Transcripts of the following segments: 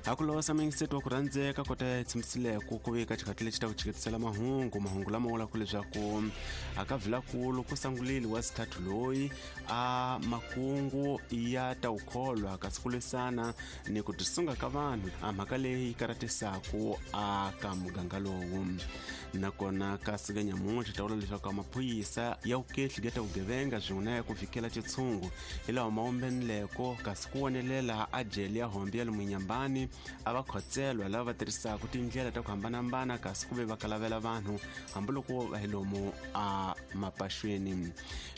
Hakulosa mingiseto wa ku rhandzeka kota ya tshamisileko ku veka xikhathi lexi ta ku chiketisela mahungu mahungu lama vulaka leswaku a ka vilakulu ku sangulile wa sithathu loyi a makungu ya ta wukholwa kasi ku lwisana ni ku tisunga ka vanhu a mhaka leyi karatisaku a ka muganga lowu. Nakona ka siku ya nyamuntlha ta vula leswaku maphorisa ya vukehli ya ta vugevenga swin'we na ya ku vikela xitshungu hi lawa ma wumbenileko kasi ku wonelela a jele ya hombe ya lomu Nyambani a va khotselwa lava va tirhisaka tindlela ta ku hambanahambana kasi ku ve va kalavela vanhu hambiloko va hi lomu a mapaxweni.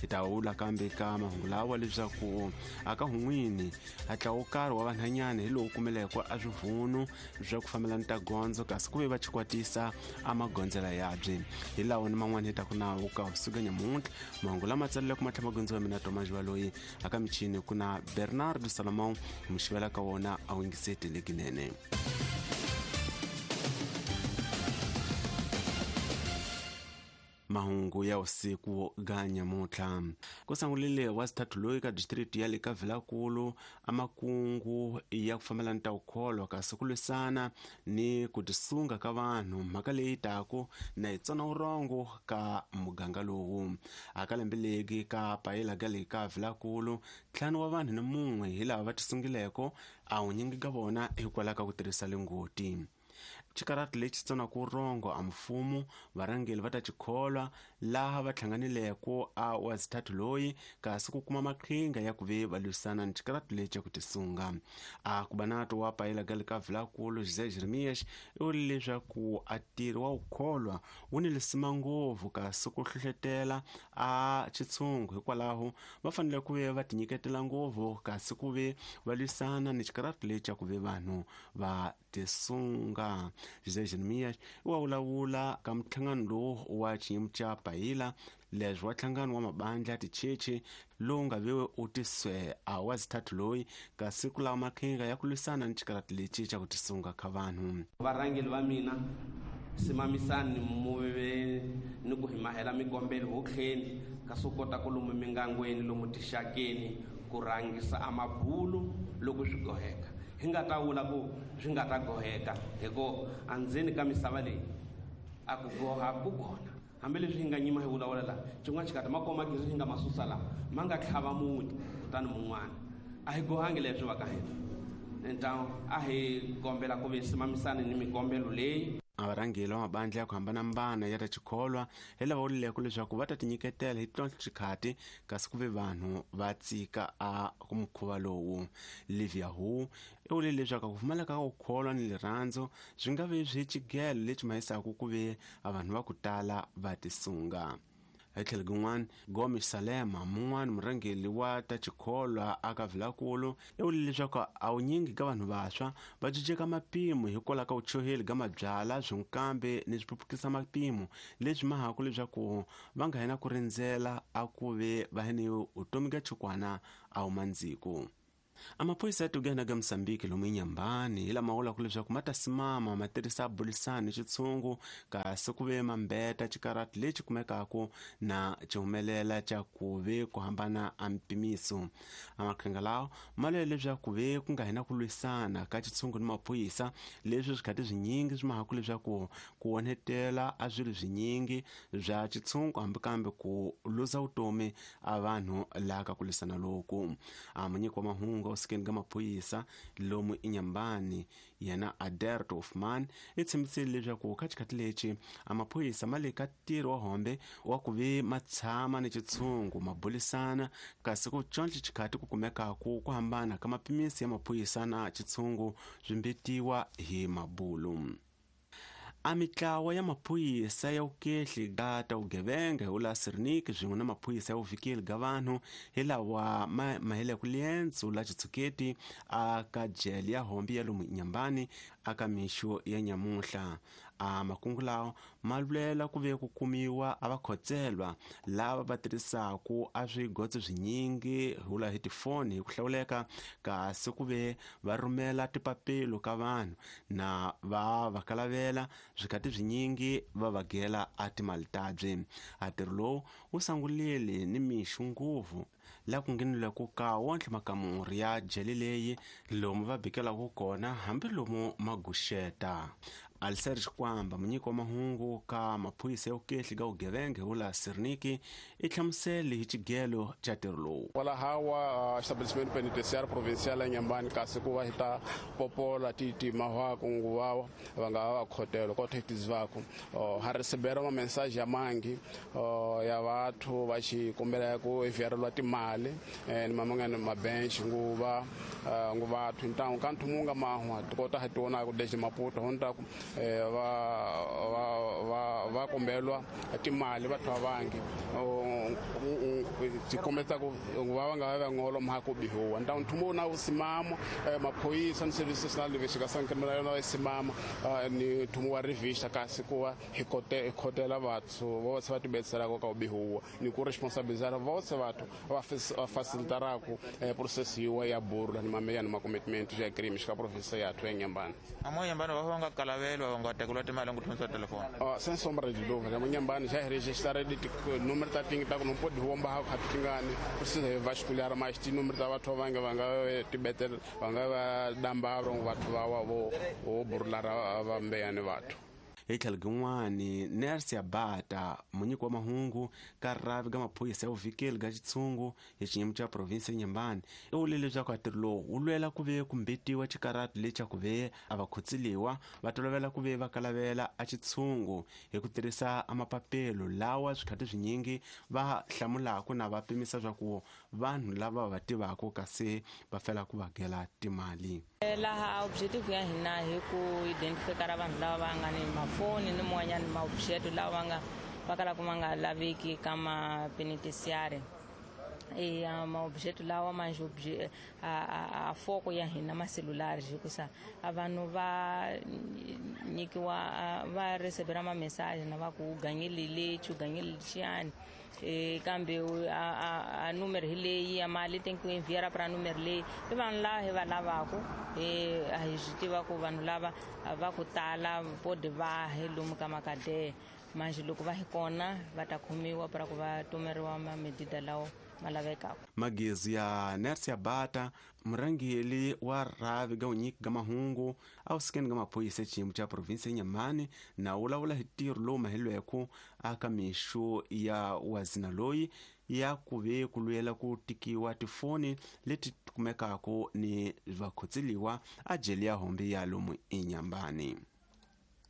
Hi ta vula kambe ka mahungu lawa leswaku a ka hun'wini a ntlawa wo karhi wa vanhanyana hi lowu kumeleko a swivunu swa ku fambelana ta gondzo kasi ku ve va chikwatisa a magondzela yabye. Hi lawa ni man'wana hi taku nawo ka vusiku nyamuntlha mahungu lama tsaleleke matlha magondzo ya mina Tomas Baloyi aka michini ku na Bernardo Salomão hi muxivela ka wona a wingiseti lekinene. Mahungu ya usiku ga nyamuntlha ku sangulile wa sithathu loyi ka district ya le ka Vilakulu a makungu ya ku fambelana ta wukholwa kasi ku lwisana ni ku tisunga ka vanhu mhaka leyi taku na yi tsona vurhongo ka muganga lowu. A ka lembe legi ka payela ga le ka Vilakulu 5 wa vanhu ni mun'we hi lava va tisungileko a wunyingi ka vona hikwalaho ka ku tirhisa lingoti. Xikarati lexi tsonaka vurhongo a mfumo varhangeri va ta xikholwa laha va hlanganileko a wa sithathu loyi kasi ku kuma maqhinga ya ku ve va lwisana ni xikarati lexi ku tisunga. A ku banato wa payela ga le ka Vilakulu José Jeremias i vule leswaku a ntirho wa wukholwa wu ni lisima ngopfu kasi ku hlohletela a xitshungu hikwalaho va fanele ku ve va tinyiketela ngopfu kasi ku ve va lwisana ni xikarati lexi ku ve vanhu va tisunga. José Jeremias i wa vulavula ka nhlangano lowu wa xiyimo xa payila leswi wa nhlangano wa mabandla ticheche lowu nga ve u tiswe a wa sithathu loyi kasi ku lava maqhinga ya ku lwisana ni xikarati lexi xa ku tisunga ka vanhu. Varhangeri va mina simamisani muve ni ku hi mahela mikombelo hotlheni kasi u kota ku lomu mingangweni lomu tixakeni ku rhangisa a mabulu loko swi goheka. Hi nga ta vula ku swi nga ta goheka hikuva andzeni ka misava leyi a ku goha ku kona. Hambileswi hi nga nyima hi vulavula laha xin'wana xikati makoma gezi hi nga ma susa laha ma nga tlhava muti kutani mun'wana a hi gohangi leswi va ka hina. Ntawu a hi kombela ku ve simamisani ni mikombelo leyi. A varhangeri va mabandla ya ku hambanahambana ya ta xikholwa hi lava vulileko leswaku va ta tinyiketela hi tlontlho xikhati kasi ku ve vanhu va tsika a mukhuva lowu. Livia Hu i vule leswaku ku pfumaleka ka ku kholwa ni rirhandzu swi nga vi swi xigelo lexi mahisaka ku ve a vanhu va ku tala va tisunga. Hi tlhelo rin'wana Gomes Salema mun'wana murhangeri wa ta xikholwa aka Vilakulu i vule leswaku a wunyingi ka vanhu vantshwa va cinceka mapimo hikwalaho ka vuchoheli ka mabyala swinkambe ni swiphuphukisa mapimo leswi mahaku leswaku va nga hina ku rindzela a ku ve va hene vutomi ka chukwana a wu mandziku. A maphorisa ya Tugena ka Mozambique lomu Nyambani hi lama vulaka leswaku ma ta simama ma tirhisa bulisani xitshungu kasi ku ve mambeta xikarati lexi kumekaka na xihumelela xa ku ve ku hambana a mpimiso. A maqhinga lawa ma lwela leswaku ve ku nga hina ku lwisana ka xitshungu ni maphorisa leswi swikhati swinyingi swi mahaku leswaku ku onhetela a swilo swinyingi bya xitshungu hambi kambe ku luza vutomi a vanhu laha ka ku lwisana loku. A munyiki wa mahungu evusikeni ka maphorisa lomu Inyambani yena Aderto Hoffman i tshembisile leswaku ka xikhathi lexi a maphorisa ma le ka ntirho wa hombe wa ku ve ma tshama ni xitshungu ma bulisana kasi ku conca xikhathi ku kumekaku ku hambana ka mapimisi ya maphorisa na xitshungu swi mbetiwa hi mabulu. A mitlawa ya maphorisa ya vukehli ga ta vugevenga hi vula Sirnik swin'we na maphorisa ya vuvikeli ga vanhu hi lawa ma maheleke liendzo la xitshuketi a ka jele ya hombe ya lomu Nyambani aka mixo ya nyamuntlha. A makungu lawa ma lwela ku ve ku kumiwa a vakhotselwa lava va tirhisaka a swigotso swinyingi hi vula hi tifoni hi ku hlawuleka kasi ku ve va rhumela tipapilo ka vanhu na va va kalavela swikhati swinyingi va va gela a timali tabye. A ntirho lowu wu sangulile ni mixo ngopfu Laha ku nghenelelaka ka wontle makamuri ya jele leyi lomu va bikelaka kona hambi lomu maguxeta. Aliser Xikwamba, munyiki wa mahungu ka maphorisa ya vukehli ka vugevenga hi wula Sirniki, i hlamusele hi xigelo xa ntirho lowu. Kwalahawa estabelecimento penitenciário provincial ya Inhambane, kasi ku va hi ta popola ti mahwaku nguva va nga va khotelo ko thetizivaku ha recebera ma mensagem ya mangi ya vathu va xi kombela ku enviarelwa timali ni mamangana mabench nguva nguvathu ntangu ka nthu munga mahwa tikota ha tiona ku desde Maputo honta ku va kombelwa timali vathu va vangi ti kombeta ku va nga va ngolo mha ku bihuwa ntangu nthumo na usimama maphoyisa ni service national de investigação criminal na simama ni nthumo wa revista, kasi ku va hi kote hi khotela vathu vose va tibetselaka ka ubihuwa ni ku responsabilizar vose vathu va facilitaraku process yiwa ya burula ni mameya ni macommitment ya crime xika province yathu ya Inhambane. Amo Inhambane va nga kalavelwa va nga tekeriwa timali ngo thomisa telefoni? Sem sombra de dúvida, Inhambane já registraram de número ta tingi ta ku não pode romba ha tingani precisa vasculhar mais ti número ta vathu va nga tibetel va nga va damba vathu va wa vo burula va mbeyani vathu. Hi tlhelo rin'wani, Nersia Bata, munyiki wa mahungu ka rhavi ka maphorisa ya vuvikeli ka xitshungu hi xinyimo xa province ya Inhambane, i vule leswaku ntirho lowu wu lwela ku ve ku mbetiwa xikarati lexa ku ve a va khotsiliwa va tolovela ku ve va kalavela a xitshungu hi ku tirhisa amapapelo lawa swikhati swinyingi va hlamulaka na va pimisa swa ku vanhu lava va tivaka, kasi va fela ku va gela timali. Laha objective ya hina hi ku identifikara vanhu lava va nga ni mafoni ni man'wanyana maobjeto lawa va nga va kalaka ma nga laveki ka mapenitentiary. E maobjeto lawa manje a foko ya hina maselulari, hikusa a vanhu va nyikiwa va recebera ma-message na va ku u ganyile lexi, u ganyile lexiyani, kambe a numero hi leyi ya mali tem que enviar para número leyi. I vanhu lava hi va lavaku, a hi swi tiva ku vanhu lava va ku tala pode va hi lomu ka makadeya. Manje loko va hi kona va ta khomiwa para ku va tomeriwa mamedida lawa ma lavekaka. Magezi ya Nersia Bata, murhangeri wa rhavi ka vunyiki ka mahungu awusikeni ka maphorisa xiyimo xa province ya Inhambane, na vulavula hi ntirho lowu mahelweko aka mixo ya wazina loyi ya ku ve ku lwela ku tikiwa tifoni leti kumekaka ni vakhotseliwa a jele ya hombe ya lomu Inhambane.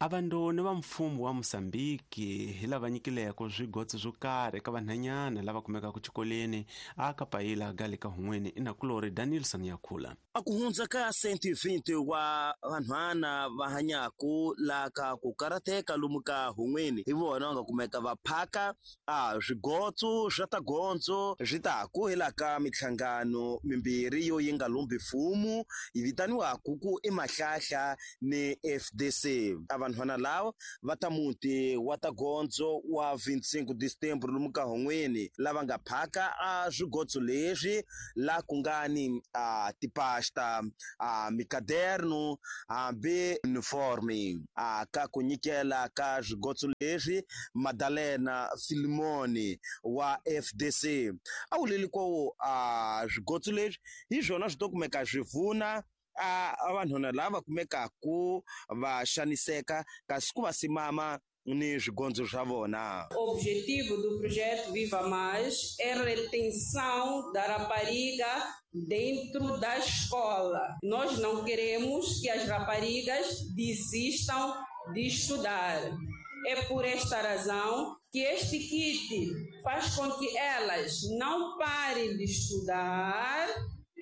Avandoni va mfumo wa Mosambiki hi lava nyikileko swigotso swo karhi eka vanhanyana lava kumekaka xikolweni aka payila ga le ka hun'weni. Inakulori Danielson Yakhula. A ku hundza ka 120 wa vanhwana va hanyaku la ka ku karateka lomu ka hun'weni, hi vona va nga kumeka va phaka a swigotso swa ta gondzo swi ta ku hi la ka mihlangano mimbirhi yo yi nga lumbi mfumo, yi vitaniwaku ku i Mahlahla ni FDC. A vanhwana lava va ta muti wa ta gondzo wa 25 de setembro lomu ka hun'weni, lava nga phaka a swigotso leswi la ku nga ni a tipasta, a mikaderno, hambi uniforme. A ka ku nyikela ka swigotso leswi, Madalena Filimoni wa FDC a wuleli ko a swigotso leswi hi swona swi to kumeka swi pfuna a vanhwana lava kumekaku va xaniseka, kasi ku va simama ni swigondzo swa vona. O objetivo do projeto Viva Mais é a retenção da rapariga dentro da escola. Nós não queremos que as raparigas desistam de estudar. É por esta razão que este kit faz com que elas não parem de estudar.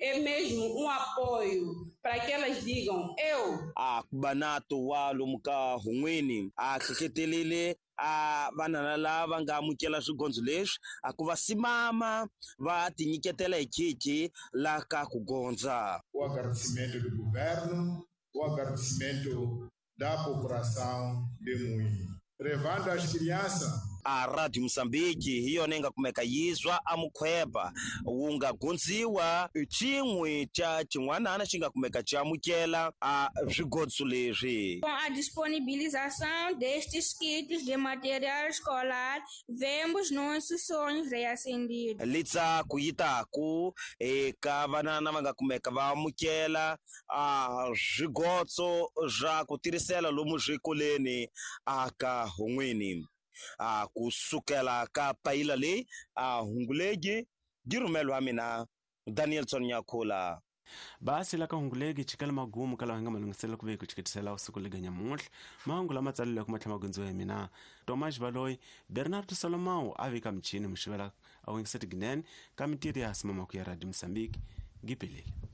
É mesmo um apoio para que elas digam eu. A banato wa lomu ka hun'wini a hlohletelile a vanhana lava nga amukela swigondzo leswi a ku va simama va tinyiketela hi khichi la ka ku gondza. O agradecimento do governo, o agradecimento da população de Moinho. Levando as crianças A Radio Mozambique hi yona yi nga kumeka yizwa a mukhweba wu nga gundziwa xin'we xa xin'wanana xi nga kumeka xi amukela a swigotso leswi. Com a disponibilização destes kits de material escolar, vemos nossos sonhos reacendidos. Litsaku yi taku eka vanana va nga kumeka va amukela a swigotso swa ku tirhisela lomu swikolweni aka hun'wini. A kusukela ka payila leyi a hungulegi yi rhumelwa mina Danielson Nyakula. Basi la ka hunguleki chikela magumu kala nga malunghiselo ku ve ku chiketisela usiku lega nyamuntlha. Mahungu lama tsaleleke ma tlhela ma gundziwa hi mina Tomas Baloyi. Bernardo Salomão a vika michini muxivela a wingiseti ginene ka mintirho ya hasimamaku ya Radio Mozambique. Gipelele.